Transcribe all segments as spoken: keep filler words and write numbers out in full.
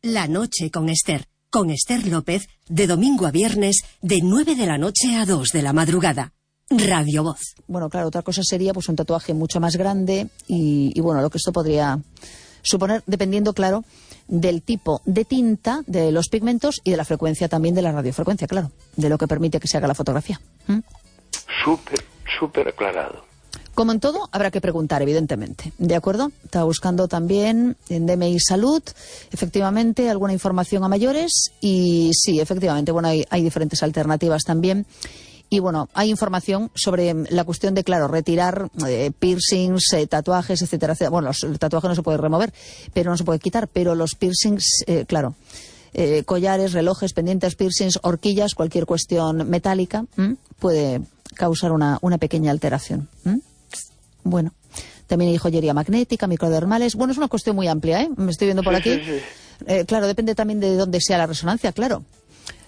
La noche con Esther, con Esther López, de domingo a viernes, de nueve de la noche a dos de la madrugada. Radio Voz. Bueno, claro, otra cosa sería pues un tatuaje mucho más grande y, y bueno, lo que esto podría suponer, dependiendo, claro, del tipo de tinta, de los pigmentos y de la frecuencia también de la radiofrecuencia, claro, de lo que permite que se haga la fotografía. ¿Mm? Súper, súper aclarado. Como en todo, habrá que preguntar, evidentemente. ¿De acuerdo? Estaba buscando también en D M I Salud, efectivamente, alguna información a mayores y sí, efectivamente, bueno, hay, hay diferentes alternativas también. Y bueno, hay información sobre la cuestión de, claro, retirar eh, piercings, eh, tatuajes, etcétera, etcétera. Bueno, los, el tatuaje no se puede remover, pero no se puede quitar, pero los piercings, eh, claro, eh, collares, relojes, pendientes, piercings, horquillas, cualquier cuestión metálica, ¿m? puede causar una, una pequeña alteración. ¿M? Bueno, también hay joyería magnética, microdermales. Bueno, es una cuestión muy amplia, ¿eh? Me estoy viendo por aquí. Sí, sí, sí. Eh, claro, depende también de dónde sea la resonancia, claro.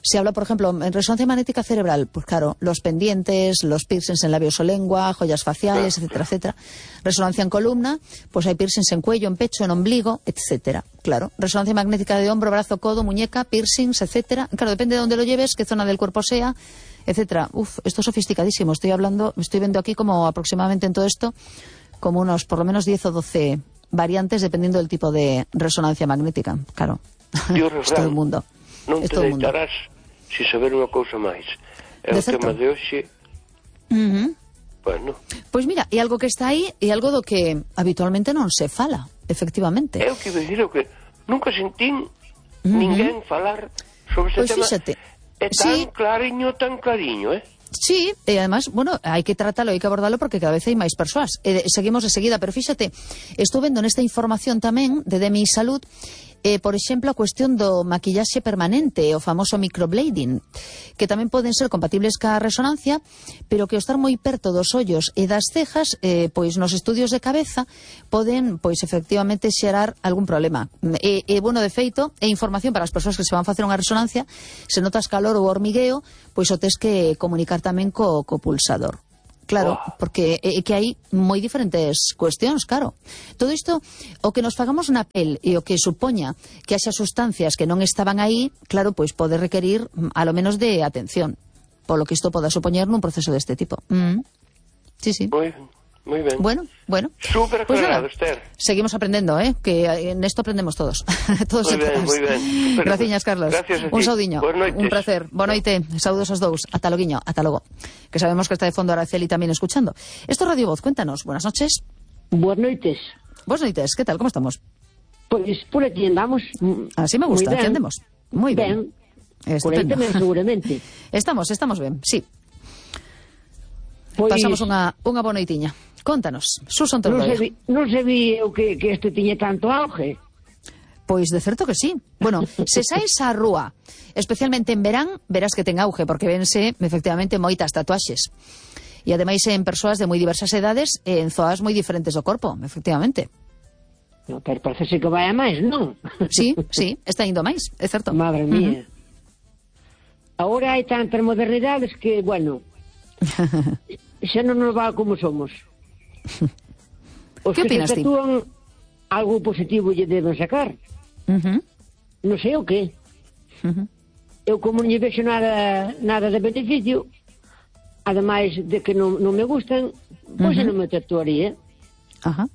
Se habla, por ejemplo, en resonancia magnética cerebral, pues claro, los pendientes, los piercings en labios o lengua, joyas faciales, etcétera, etcétera. Resonancia en columna, pues hay piercings en cuello, en pecho, en ombligo, etcétera. Claro, resonancia magnética de hombro, brazo, codo, muñeca, piercings, etcétera. Claro, depende de dónde lo lleves, qué zona del cuerpo sea, etcétera. Uf, esto es sofisticadísimo. Estoy hablando, me estoy viendo aquí como aproximadamente en todo esto, como unos por lo menos diez o doce variantes dependiendo del tipo de resonancia magnética. Claro, es todo el mundo. Non te deitarás se saber unha cousa máis. É o tema de hoxe. Uh-huh. Bueno. Pois mira, é algo que está aí e algo do que habitualmente non se fala, efectivamente. É o que dicir, o que nunca sentín uh-huh. ninguén falar sobre ese pois tema. Fíxate. É tan sí. clariño, tan clariño, eh? Sí, e además, bueno, hai que tratarlo, hai que abordarlo porque cada vez hai máis persoas. E seguimos de seguida, pero fíxate, estou vendo nesta información tamén de D M I Salud, eh, por exemplo, a cuestión do maquillaxe permanente, o famoso microblading, que tamén poden ser compatibles ca resonancia, pero que ao estar moi perto dos ollos e das cejas, eh, pois nos estudios de cabeza poden, pois efectivamente, xerar algún problema. E, e bueno, de feito, é información para as persoas que se van facer unha resonancia, se notas calor ou hormigueo, pois o tes que comunicar tamén co, co pulsador. Claro, porque é que hai moi diferentes cuestións, claro. Todo isto, o que nos fagamos na pel e o que supoña que haxa sustancias que non estaban aí, claro, pois pode requerir a lo menos de atención, polo que isto poda supoñer nun proceso deste tipo. Mm. Sí, sí. Moi ben, moi ben. Bueno, bueno. Súper pues aclarado, nada, Esther. Seguimos aprendendo, ¿eh? Que en esto aprendemos todos. Todos moi ben, moi ben. Graciñas, Carlos. Gracias a ti. Un saudiño. Un placer. Boa noite. Saúdos aos dous. Ata loguiño. Ata logo. Que sabemos que está de fondo Araceli también escuchando. Esto es Radio Voz. Cuéntanos. Buenas noches. Buenas noites. Buenas noites. ¿Qué tal? ¿Cómo estamos? Pues por aquí andamos. Así me gusta. Aquí andemos. Muy bien. Ben. Por aí tamén, seguramente. Estamos, estamos ben. Sí. Pois... Pasamos unha, unha boa noitiña. Contanos, Susan Non Torroia. se, non se vi o que, que este tiñe tanto auge. Pois de certo que sí. Bueno, se saes á rúa, especialmente en verán, verás que ten auge, porque vense efectivamente moitas tatuaxes. E ademais en persoas de moi diversas edades e en zoas moi diferentes do corpo, efectivamente. No, pero parece que vai a máis, non? Sí, sí, está indo máis, é certo. Madre mía. Uh-huh. Agora hai tantas modernidades que, bueno, xa non nos va como somos. Os que que opinas se tatúan ti? Algo positivo lle deben sacar. Uh-huh. Non sei o que. Uh-huh. Eu como non lle vexo nada, nada de beneficio, ademais de que non, non me gustan, pois uh-huh. non me tatuaría. Ajá. Uh-huh.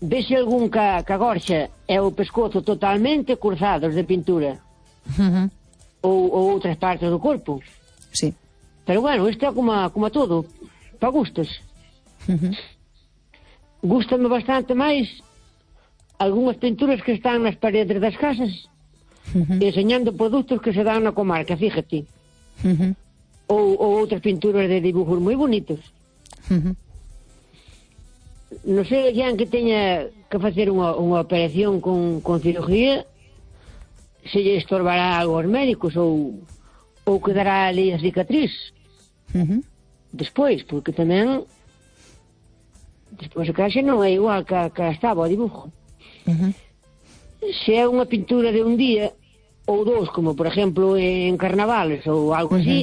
Vese algún ca, ca gorxa e o pescozo totalmente cruzados de pintura. Uh-huh. Ou, ou outras partes do corpo. Sí. Pero bueno, isto é como, como todo, para gustos. Uh-huh. Gústame bastante máis algunhas pinturas que están nas paredes das casas, uh-huh. enseñando produtos que se dan na comarca, fíjate. Uh-huh. Ou, ou outras pinturas de dibujos moi bonitos. Uh-huh. Non sei, alguén que teña que facer unha, unha operación con, con cirugía, se lle estorbará algo aos médicos ou, ou quedará ali a cicatriz. Uh-huh. Despois, porque tamén despois a caixa non é igual que, que estaba o dibujo. Uh-huh. Se é unha pintura de un día ou dous, como por exemplo en carnavales ou algo uh-huh. así,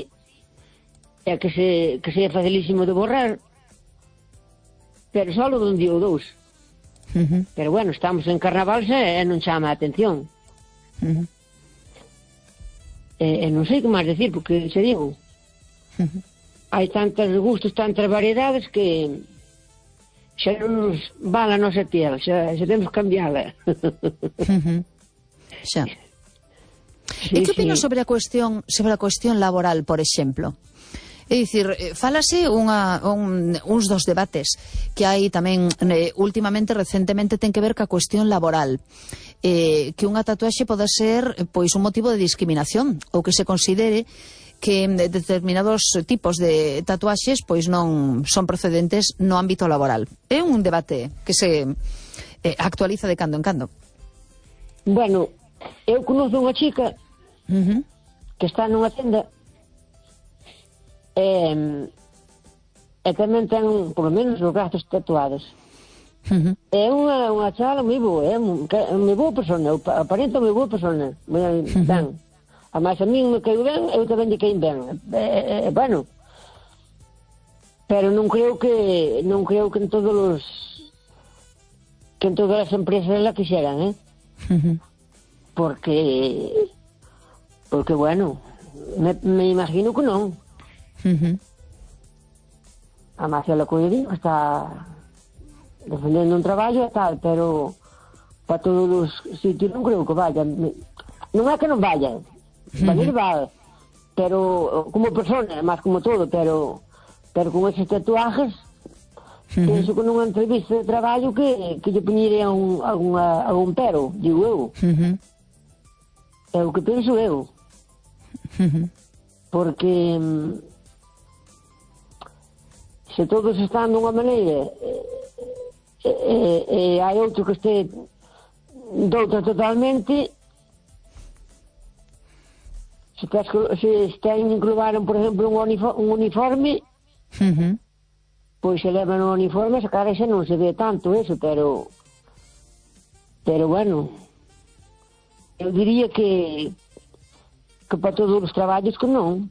é que se, que se é facilísimo de borrar, pero só de un día ou dous. Uh-huh. Pero bueno, estamos en carnaval e non chama a atención. Uh-huh. E, e non sei que máis decir, porque se digo, Uh-huh. hai tantos gustos, tantas variedades que xa non nos vale a nosa piel, xa, xa temos que cambiála. Uh-huh. Xa. Sí, E que opinas sí. sobre a cuestión sobre a cuestión laboral, por exemplo? É dicir, fálase unha, un, uns dos debates que hai tamén eh, últimamente, recentemente, ten que ver ca cuestión laboral. Eh, que unha tatuaxe pode ser pois un motivo de discriminación, ou que se considere que determinados tipos de tatuaxes pois non son procedentes no ámbito laboral. É un debate que se eh, actualiza de cando en cando. Bueno, eu conozco unha chica Uh-huh. que está nunha tenda e, e tamén ten, por lo menos, os brazos tatuados. Uh-huh. É unha, unha chala moi boa, é moi boa persona, aparenta moi boa persona, moi Uh-huh. ben. Ademais, a mí me caiu ben, eu tamén lle caí ben. É, é, bueno, pero non creo que non creo que en todos os que en todas as empresas la quixeran, eh? Uh-huh. Porque porque, bueno, me, me imagino que non. Uh-huh. Además, ela cuidou, está defendendo un traballo e tal, pero para todos os sitios non creo que vaya. Non é que non vaya, valer va, pero como persona, máis como todo, pero pero con esos tatuajes, Uh-huh. penso que nunha entrevista de traballo que, que lle poñería un, alguna, algún pero, digo eu. Uh-huh. É o que penso eu. Uh-huh. Porque mm, se todos están dunha maneira e, e, e hai outro que este doutra totalmente, se, tes, se ten inclubaron, por exemplo, un, uniforme, un uniforme, Uh-huh. pois se levan o uniforme, se cara xa non se ve tanto eso, pero pero bueno, eu diría que que para todos os traballos que non.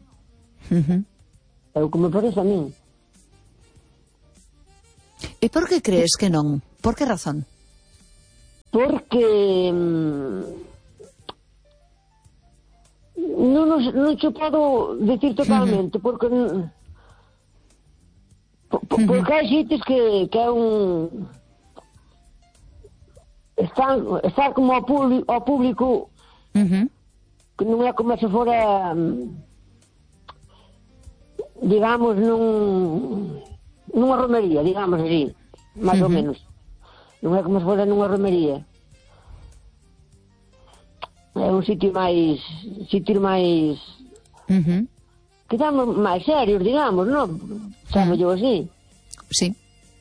Uh-huh. É o que me parece a min. E por que crees que non? Por que razón? Porque mm, non, nos, non che podo decir totalmente, porque mm, po, po, porque hai sitios que, que é un están, está como ao público, ao público Uh-huh. que non é como se fora mm, digamos nun nunha romería, digamos así, máis ou Uh-huh. menos. Non é como se fora nunha romería. É un sitio máis sitio máis Uh-huh. que estamos máis serios, digamos, non? Chamo yo así. Sí.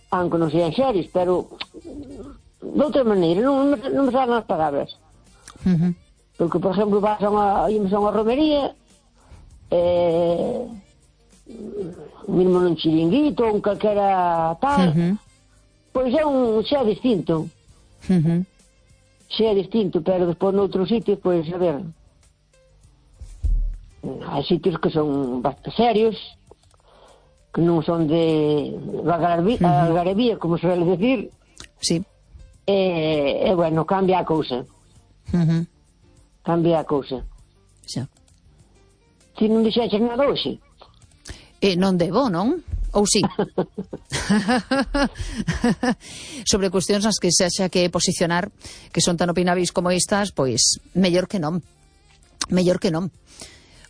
Aunque non sean serios, pero de outra maneira, non, non, non me salen as palabras. Uh-huh. Porque, por exemplo, vas a unha, ímos a unha romería, eh, mesmo nun chiringuito, un calquera tal, Uh-huh. pois é un xa distinto. Uh-huh. Xa é distinto, pero despois noutros sitios, pois, a ver, hai sitios que son bastante serios, que non son de algarabía, Uh-huh. algarabía, como se suele decir, Sí. e, e bueno, cambia a cousa, Uh-huh. cambia a cousa. Xa. Ti non dixeches nada hoxe? E non debo, non? Ou sí? Sobre cuestións nas que se haxa que posicionar, que son tan opinabis como estas, pois mellor que non. Mellor que non.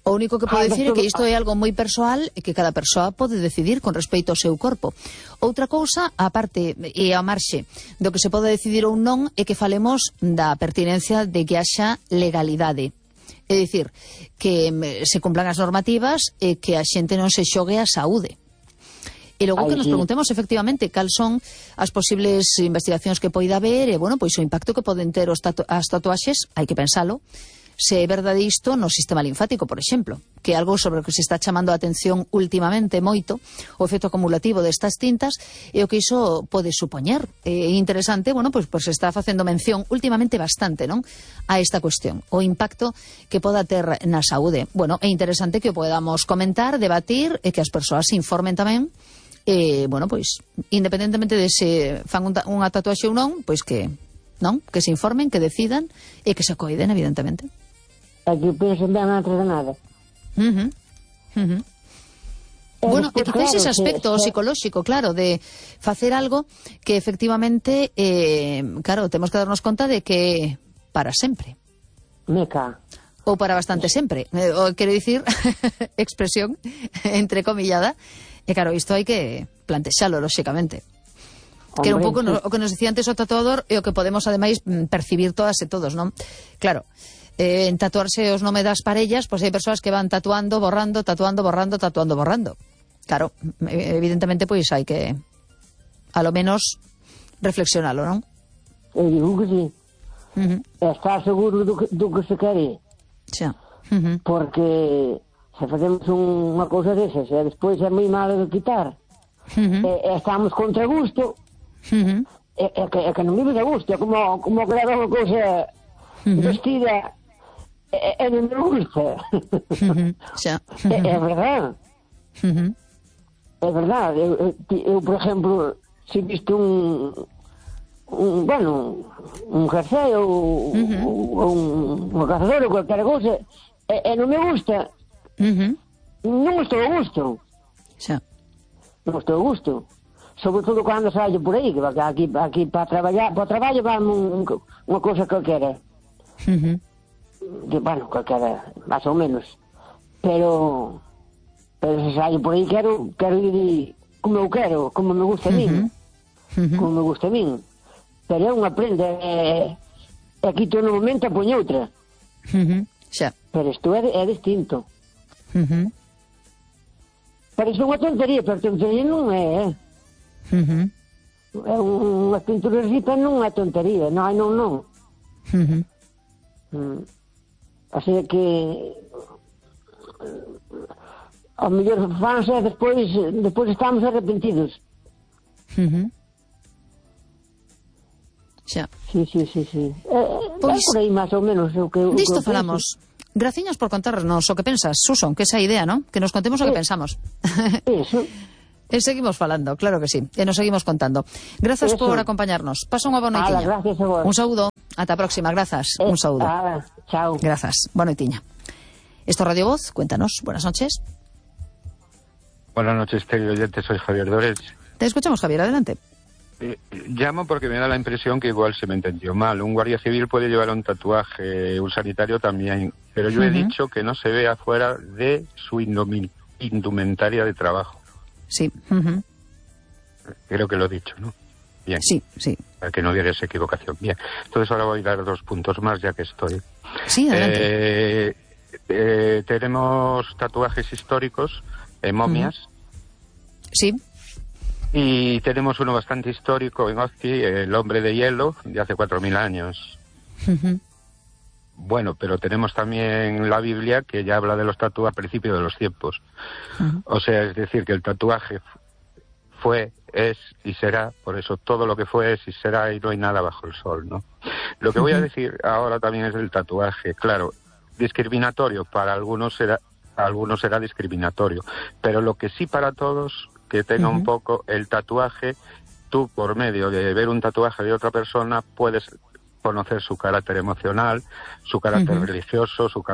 O único que podo Ah, dicir é pero- que isto é algo moi persoal e que cada persoa pode decidir con respecto ao seu corpo. Outra cousa, a parte e a marxe do que se pode decidir ou non, é que falemos da pertinencia de que haxa legalidade. É dicir, que mm, se cumplan as normativas e que a xente non se xogue a saúde. E logo Ai, que nos sí. preguntemos efectivamente cal son as posibles investigacións que poida haber e, bueno, pois o impacto que poden ter os tatu as tatuaxes, hai que pensalo, se é verdade isto no sistema linfático, por exemplo, que é algo sobre o que se está chamando a atención últimamente moito, o efecto acumulativo destas tintas e o que iso pode supoñer. É interesante, bueno, pois, pois se está facendo mención últimamente bastante, non?, a esta cuestión, o impacto que poda ter na saúde. Bueno, é interesante que o podamos comentar, debatir e que as persoas se informen tamén E, bueno, pois, independentemente de se fan un, unha tatuaxe ou non, pois que, non? Que se informen, que decidan e que se coiden, evidentemente. É que pensen ben antes de nada. Uh -huh. Uh -huh. Bueno, e quizás claro, ese aspecto que, psicolóxico, claro, de facer algo que efectivamente, eh, claro, temos que darnos conta de que para sempre. Meca. Ou para bastante sempre. Eh, o, quero dicir, expresión entrecomillada. E claro, isto hai que plantexalo, lóxicamente. Hombre, que era un pouco sí. no, o que nos dicía antes o tatuador e o que podemos, ademais, percibir todas e todos, non? Claro, eh, en tatuarse os nome das parellas, pois pues hai persoas que van tatuando, borrando, tatuando, borrando, tatuando, borrando. Claro, evidentemente, pois pues, hai que, a lo menos, reflexionalo, non? Eu digo que sí. Uh -huh. Está seguro do que, do que se quere. Xa. Uh -huh. Porque se facemos un, unha cousa desas e despois é moi malo de quitar, uh -huh. e, e estamos contra gusto, uh -huh. e, e, que, e que non vive de gusto, é como, como que leva unha cousa uh -huh. vestida e, e non me gusta. Uh -huh. Xa. Uh -huh. é, é verdade. Uh -huh. É verdade. Eu, eu, eu, por exemplo, se visto un, un bueno, un jersey ou, uh -huh. ou un, un cazador ou qualquer cousa, e, e non me gusta, Uh -huh. non estou a gusto. Xa. Non estou a gusto. Sobre todo cando saio por aí, que aquí, aquí para traballar, para o traballo vamos un, unha cousa calquera. Uh -huh. Que, bueno, calquera, máis ou menos. Pero, pero se saio por aí quero, quero ir como eu quero, como me gusta a mí. Uh -huh. Como me gusta a mí. Pero é unha prenda, e, e aquí todo no momento a poño outra. Uh -huh. Xa. Pero isto é, é distinto. Uh -huh. Parece unha tontería, pero tontería non é, eh? Uh -huh. É unha pintura ripa, non é tontería, non, non, non. Uh -huh. Mm. Así que ao mellor fanse e despois, despois estamos arrepentidos. Uh -huh. Xa. Sí, sí, sí, sí. É, pois, é por aí máis ou menos o que, o disto que falamos. Graciñas por contarnos o que pensas, Suson, que esa idea, ¿no? Que nos contemos o que pensamos. Eso. E seguimos falando, claro que sí. E nos seguimos contando. Grazas eso. Por acompañarnos. Pasa unha boa noitiña. Ala, gracias a vos. Un saúdo. Ata a próxima. Grazas. Eh, Un saúdo. Ala, chao. Grazas. Boa noitiña. Esto es Radio Voz. Cuéntanos. Buenas noches. Buenas noches, querido oyente. Soy Javier Dores. Te escuchamos, Javier. Adelante. Eh, llamo porque me da la impresión que igual se me entendió mal. Un guardia civil puede llevar un tatuaje, un sanitario también, pero yo uh-huh. he dicho que no se vea fuera de su indumentaria de trabajo. Sí. Uh-huh. Creo que lo he dicho, ¿no? Bien. Sí, sí. Para que no hubiera esa equivocación. Bien. Entonces ahora voy a dar dos puntos más, ya que estoy. Sí, adelante. Eh, eh, tenemos tatuajes históricos, eh, momias. Uh-huh. Sí. Y tenemos uno bastante histórico en Ozki, el hombre de hielo, de hace cuatro mil años. Uh-huh. Bueno, pero tenemos también la Biblia, que ya habla de los tatuajes al principio de los tiempos. Uh-huh. O sea, es decir, que el tatuaje fue, es y será, por eso todo lo que fue es y será, y no hay nada bajo el sol, ¿no? Lo que uh-huh. voy a decir ahora también es del tatuaje. Claro, discriminatorio, para algunos será, para algunos será discriminatorio, pero lo que sí para todos... que tenga uh-huh. un poco el tatuaje, tú por medio de ver un tatuaje de otra persona puedes conocer su carácter emocional, su carácter uh-huh. religioso, su carácter